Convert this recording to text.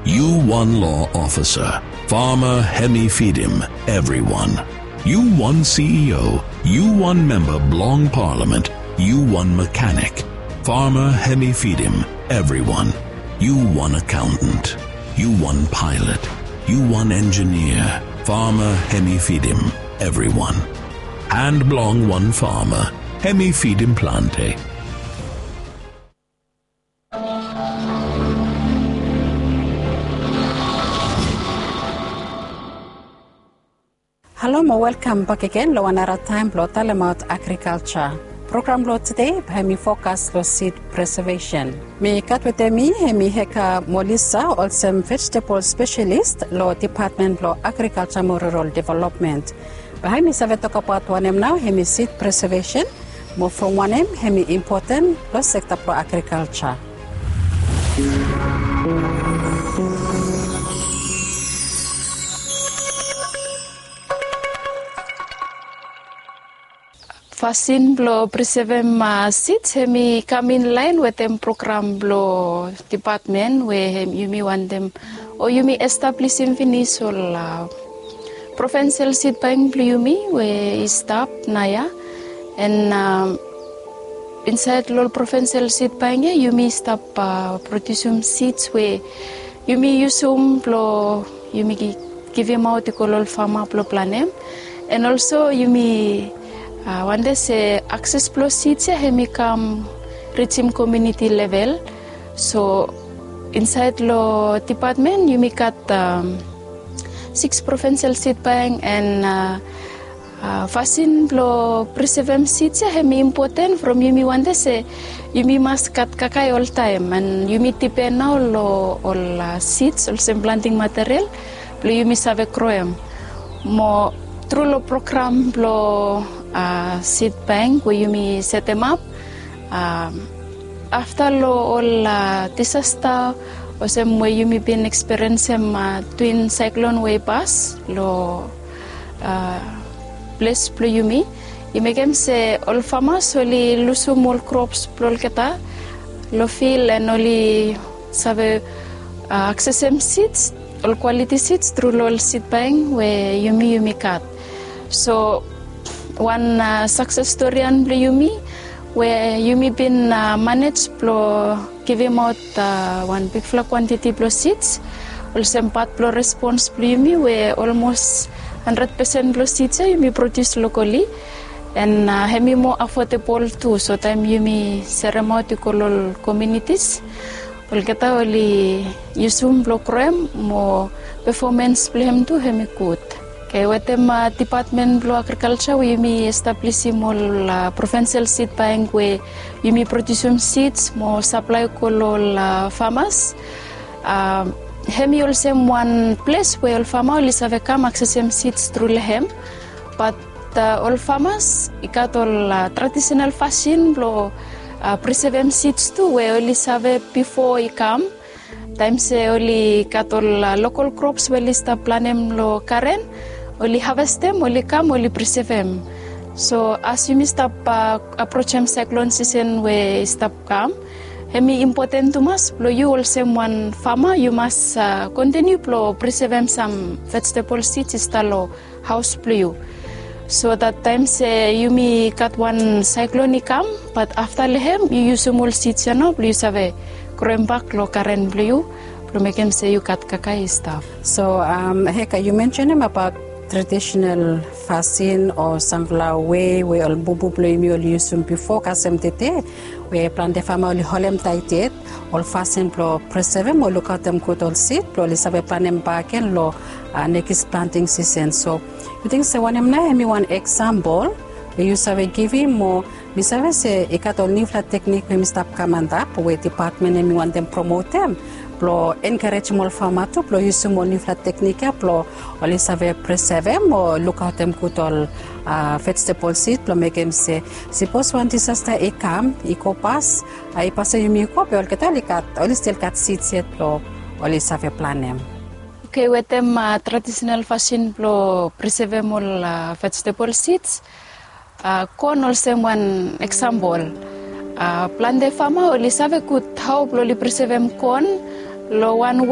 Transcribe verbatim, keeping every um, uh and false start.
Yu wan law ofisa, fama hemi fidim evriwan. Yu wan C E O, yu wan memba blong palamen, yu wan mekanik, fama hemi fidim evriwan. Yu wan akaontan, yu wan paelot, yu wan enjinia, fama hemi fidim evriwan. Han blong wan fama hemi fidim plante. Halo mo welkam bakegen long wan nara taem blong talemaot agrikalja. Program blong tede bae hemi fokas long sid presevesen. Mi gat wetem mi hemi Heka Molisa, olsem vejetebol spesialis long Depatmen blong Agrikalja mo Rural Developmen. Bae hemi save tokbaot wanem nao hemi sid presevesen, mo from wanem hemi impoten long sekta blong agrikalja. Fasin blong presevem sids hemi kam inlaen wetem program blong depatmen we yumi wantem o yumi establisim finis ol provinsial sid bank blong yumi we i stap naoia. An insaed long ol provinsial sid bank ya yumi stap prodiusim sids we yumi yusum blong yumi givimaot i go long ol fama blong planem. An olso yumi wantem se akses blong sids ya hemi kam rijim komuniti level. So insaed long depatmen yumi gat siks provinsial sid bank an fasin blong presevem sids ya hemi impoten from yumi wantem se yumi mas gat kakae oltaem an yumi dipen nao long ol sids olsem planting material blong yumi save groem. Mo tru long program blong sid bank we yumi setemap afta long ol disasta olsem we yumi bin ekspiriensem twin saeklon we i pas long ples blong yumi, i mekem se ol famas oli lusum ol krops blong olgeta long fil an oli save aksesem sids, ol kwaliti sids tru long ol sid bank we yumi yumi gat. So wan sakses storian blong yumi we yumi bin manej blong givimaot wan bigfala kwantiti blong sids olsem pat blong respons blong yumi we olmos handred pesen blong sids ya yumi prodius lokali. An hemi moa afodabol tu, so taem yumi seremaot i go long ol komunitis olgeta oli yusum blong groem mo pefomens blong hem tu hemi gud. Oke, wetem depatmen blong agrikalja we yumi establisim ol provinsial sid bank we yumi prodiusim sids mo saplae go long ol famas. Hemi olsem wan ples we ol fama oli save kam aksesem sids tru long hem. Bat ol famas i gat ol tradisenal fasin blong presevem sids tu we oli save bifo i kam. Taem se oli gat ol lokal krops we oli stap planem long garen, oli havestem, oli kam, oli presevem. So as yumi stap aprojem saeklon sisen we i stap kam, hemi impoten tumas blong yu olsem wan fama yu mas kontiniu blong presevem sam vejetebol sids i stap long haos blong yu. So dat taem se yumi gat wan saeklon i kam, bat afta long hem yu yusum ol sids ya nao blong yu save groem bak long garen blong yu blong mekem se yu gat kakae i stap. So Heka, yu mensenem abaot tradisenal fasin o samfala wei we ol bubu blong yumi oli yusum bifo kasem tede we plante fama oli holem taet yet ol fasin blong presevem o lukaotem gud ol sid blong oli save planem bakegen long nekis planting sisen. So yu ting se wanem nao hemi wan eksampol we yu save givim mo mi save se i gat ol niufala teknik we mi stap kam antap we depatmen hemi wantem promotem blong enkarejim ol fama tu blong yusum ol niufala teknik ya blong oli save presevem o lukaotem gud ol vejetebol sid blong mekem se sipos wan disasta i kam i go pas, i pas we yumi go be olgeta oli gat, oli stil gat sids yet blong oli save planem. Oke, wetem tradisenal fasin blong presevem ol vejetebol sids, kon olsem wan eksampol. Plante fama oli save gud hao blong oli presevem kon long wan wei